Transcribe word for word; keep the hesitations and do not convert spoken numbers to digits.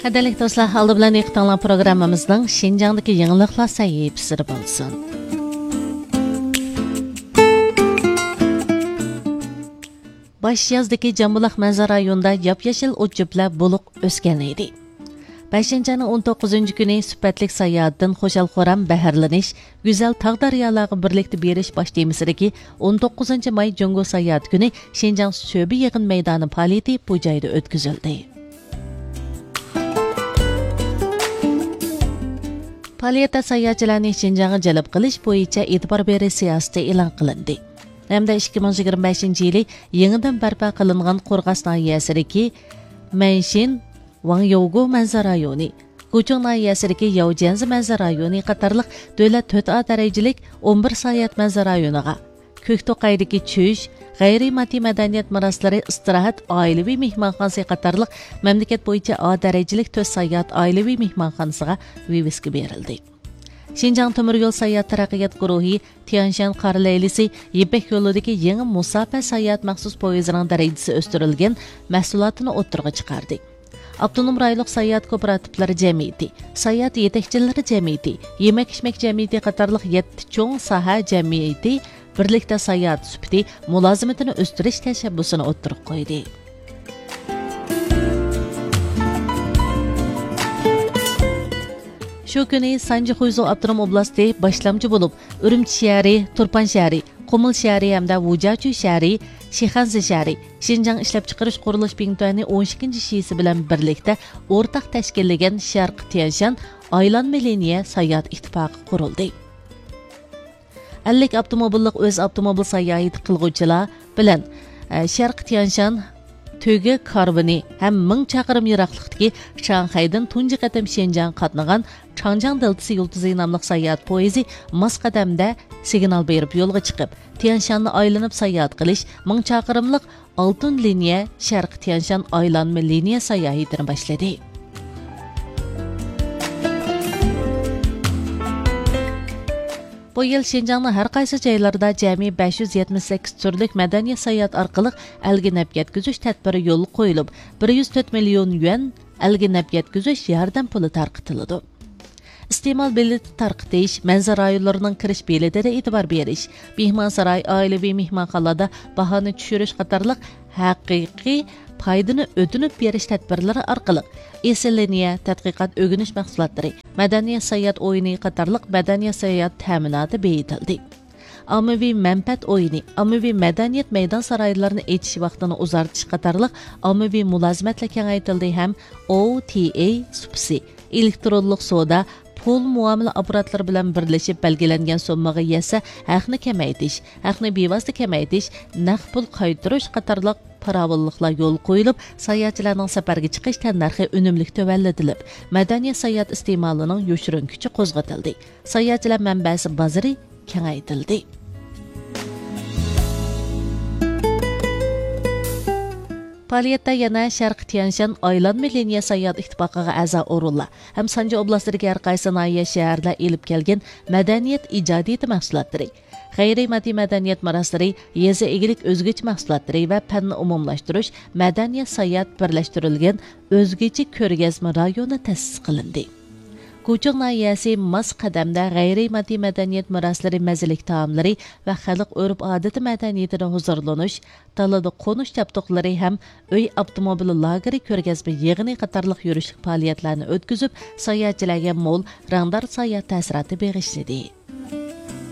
قەدىرلىك دوستلار، ئالدى بىلەن دىققىتىڭلار پروگراممىمىزنىڭ شىنجاڭدىكى يېڭىلىقلار سەھىپىسىدە بولسۇن. باش يازدىكى جامبۇلاق مەنزىرە رايونىدا ياپيېشىل ئوت-چۆپلەر بولۇق ئۆسكەن ئىدى. بەشىنچى ئاينىڭ ئون توققۇزىنچى كۈنى سۈپەتلىك ساياھەتتىن خۇشال-خۇرام بەھرىلىنىش، گۈزەل تاغ-دەريالارغا بىرلىكتە بېرىش باش تېمىسىدىكى ئون توققۇزىنچى ماي جۇڭگو ساياھەتى كۈنى شىنجاڭ سۆبە يىغىن مەيدانى پائالىيىتى بۇ جايدا ئۆتكۈزۈلدى. پائالىيەتتە ساياھەتچىلەرنى شىنجاڭغا جەلپ قىلىش بويىچە ئېتىبار بېرىش سىياسىتى ئېلان قىلىندى ھەمدە ئىككى مىڭ يىگىرمە بەشىنچى يىلى يېڭىدىن بەرپا قىلىنغان قورغاس ناھىيەسىدىكى مەنشىن ۋاڭيوگو مەنزىرە رايونى، گۇچۇڭ ناھىيەسىدىكى ياۋجيەنزى مەنزىرە رايونى قاتارلىق دۆلەت تۆت ئا دەرىجىلىك ئون بىر ساياھەت مەنزىرە رايونىغا، كۆكتوقايدىكى چۈش، غەيرىي ماددىي مەدەنىيەت مىراسلىرى ئىستىراھەت ئائىلىۋى مېھمانخانىسى قاتارلىق مەملىكەت بويىچە ئا دەرىجىلىك تۆت ساياھەت ئائىلىۋى مېھمانخانىسىغا ۋىۋىسكا بېرىلدى. شىنجاڭ تۆمۈر يول ساياھەت تەرەققىيات گۇرۇھى تيەنشان قارا لەيلىسى يىپەك يولىدىكى يېڭى مۇساپە ساياھەت مەخسۇس پويىزىنىڭ دەرىجىسى ئۆستۈرۈلگەن مەھسۇلاتىنى ئوتتۇرىغا چىقاردى. ئاپتونوم رايونلۇق ساياھەت كوپىراتىپلىرى جەمئىيىتى، ساياھەت يېتەكچىلىرى جەمئىيىتى، يېمەك-ئىچمەك جەمئىيىتى قاتارلىق يەتتە چوڭ ساھە جەمئىيىتى بىرلىكتە ساياھەت سۈپىتى مۇلازىمىتىنى ئۆستۈرۈش تەشەببۇسىنى ئوتتۇرىغا قويدى. شۇ كۈنى سانجى خۇيزۇ ئاپتونوم ئوبلاستى باشلامچى بولۇپ، ئۈرۈمچى شەھىرى، تۇرپان شەھىرى، قۇمۇل شەھىرى ھەمدە ۋۇجياچۈ شەھىرى، شىخەنزە شەھىرى، شىنجاڭ ئىشلەپچىقىرىش قۇرۇلۇش بىڭتۈەنى ئون ئىككىنچى شىسى بىلەن بىرلىكتە ئورتاق تەشكىللىگەن شەرقىي تيەنشان ئايلانما لىنىيە ساياھەت ئىتتىپاقى قۇرۇلدى. ئەللىك ئاپتوموبىللىق ئۆز ئاپتوموبىل ساياھىتى قىلغۇچىلار بىلەن، ئە، شەرقىي تيەنشان تۆگە كارۋىنى ھەم مىڭ چاقىرىم يىراقلىقتىكى شاڭخەيدىن تۇنجى قېتىم شىنجاڭغا قاتنىغان چاڭجياڭ دېلتىسى يۇلتۇزى ناملىق ساياھەت پويىزى ماس قەدەمدە سىگنال بېرىپ يولغا چىقىپ، تيەنشاننى ئايلىنىپ ساياھەت قىلىش مىڭ چاقىرىملىق ئالتۇن لىنىيە شەرقىي تيەنشان ئايلانما لىنىيە ساياھىتىنى باشلىدى. بۇ يىل شىنجاڭنىڭ ھەر قايسى جايلىرىدا جەمئىي بەش يۈز يەتمىش سەككىز تۈرلۈك مەدەنىيەت ساياھەت ئارقىلىق ئەلگە نەپ يەتكۈزۈش تەدبىرى يولغا قويۇلۇپ، بىر يۈز تۆت مىليون يۈەن ئەلگە نەپ يەتكۈزۈش ياردەم پۇلى تارقىتىلىدۇ. ئىستېمال بېلىتى تارقىتىش، مەنزىرە رايونلىرىنىڭ كىرىش بېلىتىدە ئېتىبار بېرىش، مېھمانساراي، ئائىلىۋى مېھمانخانىلاردا باھانى چۈشۈرۈش قاتارلىق ھەقىقىي پايدىنى ئۆتۈنۈپ بېرىش تەدبىرلىرى ئارقىلىق ئېسىل لىنىيە، تەتقىقات ئۆگىنىش مەھسۇلاتلىرى، مەدەنىيەت ساياھەت ئويۇنى قاتارلىق مەدەنىيەت ساياھەت تەمىناتى بېيىتىلدى. ئاممىۋى مەنپەئەت ئويۇنى، ئاممىۋى مەدەنىيەت مەيدان سارايلىرىنى ئېچىش ۋاقتىنى ئۇزارتىش قاتارلىق ئاممىۋى مۇلازىمەتلەر كېڭەيتىلدى ھەم ئو تى ئەي سۇپىسى، ئېلېكترونلۇق سودا، پۇل مۇئامىلە ئاپپاراتلىرى بىلەن بىرلىشىپ بەلگىلەنگەن سوممىغا يەتسە ھەقنى كېمەيتىش، ھەقنى بىۋاسىتە كېمەيتىش، نەق پۇل قايتۇرۇش قاتارلىق پاراۋانلىقلار يولغا قويۇلۇپ، ساياھەتچىلەرنىڭ سەپەرگە چىقىش تەننەرخى ئۈنۈملۈك تۆۋەنلىتىلىپ، مەدەنىيەت ساياھەت ئىستېمالىنىڭ يوشۇرۇن كۈچى قوزغىتىلدى. ساياھەتچىلەر مەنبەسى بازىرى كېڭەيتىلدى. پائالىيەتتە يەنە شەرقىي تيەنشان ئايلانما لىنىيە ساياھەت ئىتتىپاقىغا ئەزا ئورۇنلار ھەم سانجى ئوبلاستىدىكى ھەر قايسى ناھىيە، شەھەردە ئېلىپ كەلگەن مەدەنىيەت ئىجادىيىتى مەھسۇلاتلىرى، غەيرىي ماددىي مەدەنىيەت مىراسلىرى، يېزا ئىگىلىك ئۆزگىچە مەھسۇلاتلىرى ۋە پەننى ئومۇملاشتۇرۇش، مەدەنىيەت ساياھەت بىرلەشتۈرۈلگەن ئۆزگىچە كۆرگەزمە رايونى تەسىس قىلىندى. گۇچۇڭ ناھىيەسى ماس قەدەمدە غەيرىي ماددىي مەدەنىيەت مىراسلىرى، مەززىلىك تائاملىرى ۋە خەلق ئۆرپ-ئادىتى مەدەنىيىتىدە ھۇزۇرلىنىش، دالىدا قونۇش جابدۇقلىرى ھەم ئۆي ئاپتوموبىل لاگېرى، كۆرگەزمە يىغىنى قاتارلىق يۈرۈشلۈك پائالىيەتلەرنى ئۆتكۈزۈپ، ساياھەتچىلەرگە مول، رەڭدار ساياھەت تەسىراتى بېغىشلىدى.